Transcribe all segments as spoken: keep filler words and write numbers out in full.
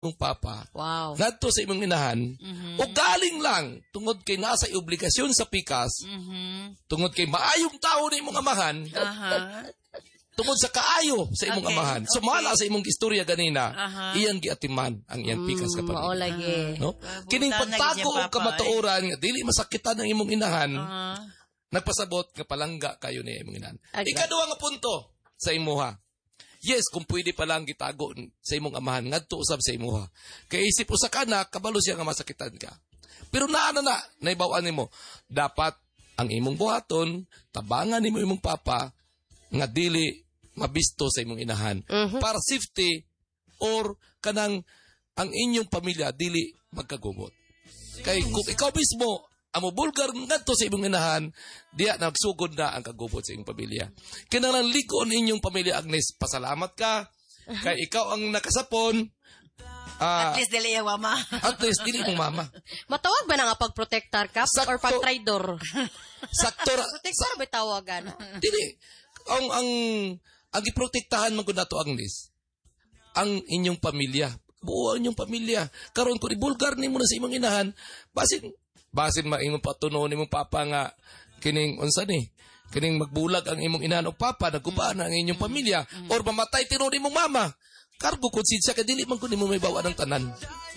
Imong papa Wow. ngadto sa imong inahan Mhm. o galing lang tungod kay nasa obligasyon sa pikas, Mhm. tungod kay maayong tao ni imong amahan, Aha. tungod sa kaayo sa imong Okay, amahan, sumala sa imong istorya ganina, Aha. iyang giatiman ang iyang pikas Mm, kapamilya, mao lagi. no? Kining Butan na pagtago gid og siya, papa, kamatuoran nga dili masakitan ang imong inahan, Aha. nagpasabot nga palangga kayo ni imong inahan. Agad. Ikaduha nga punto sa imuha. Yes, kung pwede pa lang gitago sa imong amahan, ngadto usab sa imuha. Kay isip usa ka anak, kabalo siya nga masakitan ka. Pero naa na na, naibaw-an nimo, dapat ang imong buhaton, tabangan nimo imong papa nga dili mabisto sa imong inahan. Para safety or kanang ang inyong pamilya dili magkagubot. Kay kung ikaw mismo ang mobulgar ngadto sa imong inahan, diya nagsugod na ang kagubot sa imong pamilya. Kinahanglan lig-on inyong pamilya, Agnes. Pasalamat ka kay ikaw ang nakasapon. Ah, At least dili iya mama. At least dili imong mama. Matawag ba na nga pagprotektar ka Sakto. or pagtraidor? Sakto ra, Protektar ba tawagan? Dili. Ang ang ang giprotektahan man gud nato, Agnes, ang inyong pamilya. Buo ang inyong pamilya. Karon kung ibulgar nimo na sa imong inahan, basin basin maingon pa tunon nimong papa nga kining unsa ni? Kining magbulag ang imong inahan o papa, nagubaan ang inyong pamilya or mamatay tinuod imong mama. Kargo konsensya kay dili man kun nimo may bawa ng tanan.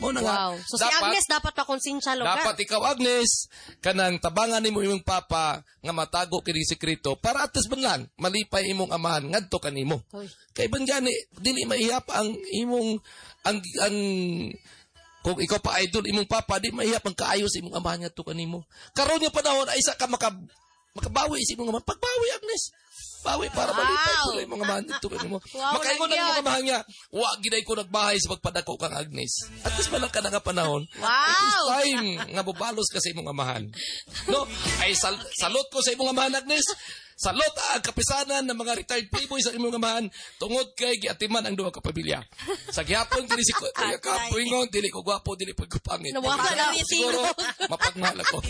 Mao na nga. Wow. So si Agnes dapat makonsensya lugar. Dapat ikaw, Agnes, kanang tabangan nimo imong papa nga matago kini sekreto para at least man lang malipay imong amahan ngadto kanimo. Uy. Kay ban gani dili maihap ang imong ang ang kung ikaw pa idol imong papa, di maihap ang kaayo sa imong amahan ngadto kanimo. Karon nga panahon ay isa ka maka makabawi sa imong amahan. Pagbawi, Agnes. Bawi para Wow. malipay ko imong amahan didto kanimo. Wow, Makaingon ang nagyan. imong amahan nga, wa giday ko nagbahay sa pagpadako kang Agnes. At least man lang ka na nga panahon. Wow. It is time nga bubalos ka sa imong amahan. No? Ay sal salute ko sa imong amahan, Agnes. Salute ang kapisanan ng mga retired playboys sa imong amahan tungod kay giatiman ang duha ka pamilya. Sa gihapon kini si Kuya Kapoy ingon, dili ko gwapo, dili pud ko pangit. Nawala na yung Siguro mapagmahal ako.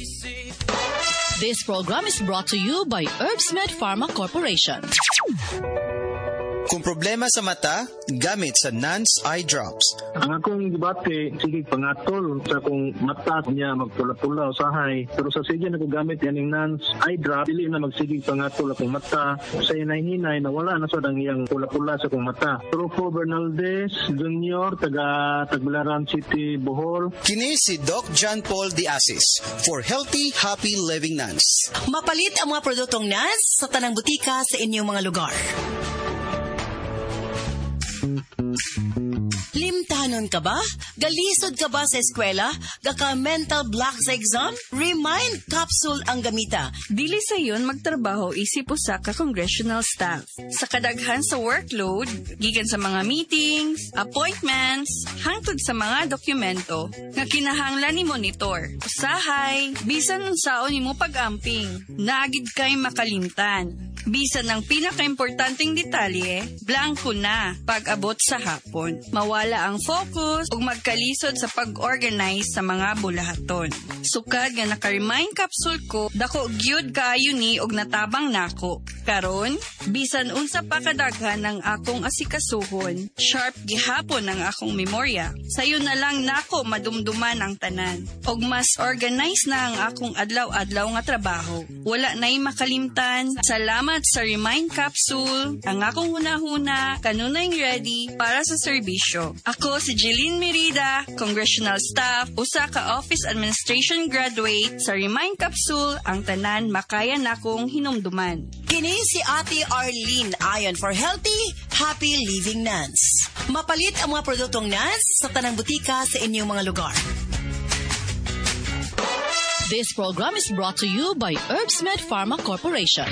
This program is brought to you by HerbsMed Pharma Corporation. Kung problema sa mata, gamit sa Nance Eye Drops. Ang akong gibati, sige pangatol sa akong mata niya magpula-pula usahay. Pero sa sige na ko gamit yaning Nance Eye Drop, dili na magsigig pangatol akong mata. Sa hinay-hinay, nawala na sad ang iyang pula-pula sa akong mata. Rufo Bernaldez Junior, taga Tagbilaran City, Bohol. Kini si Doc John Paul De Asis for Healthy, Happy Living Nance. Mapalit ang mga produktong Nance sa tanang butika sa inyong mga lugar. Limtanon ka ba? Galisod ka ba sa eskwela? Gaka mental block sa exam? Remind capsule ang gamita. Dili sayon magtrabaho isip usa ka congressional staff. Sa kadaghan sa workload, gikan sa mga meetings, appointments, hangtod sa mga dokumento nga kinahanglan ni monitor. Usahay, bisan unsaon nimo pag-amping, naa gid kay makalimtan. Bisan ang pinakaimportanteng detalye, blanko na pag-abot sa hapon. Mawala ang focus ug magkalisod sa pag-organize sa mga bulahaton. Sukad nga naka-remind capsule ko, dako gyud kaayo ni og natabang nako. Karon, bisan unsa pa kadaghan ang akong asikasuhon, sharp gihapon ang akong memorya. Sayo na lang nako madumduman ang tanan. Og mas organized na ang akong adlaw-adlaw nga trabaho. Wala na'y makalimtan. Salamat sa Remind Capsule. Ang akong hunahuna, kanunay ready para sa serbisyo. Ako si Jeline Merida, Congressional Staff, usa ka Office Administration graduate. Sa Remind Capsule, ang tanan makaya nakong hinumduman. Kini si Ate Arlene Ayon for Healthy, Happy Living Nance. Mapalit ang mga produktong Nance sa tanang butika sa inyong mga lugar. This program is brought to you by HerbsMed Pharma Corporation.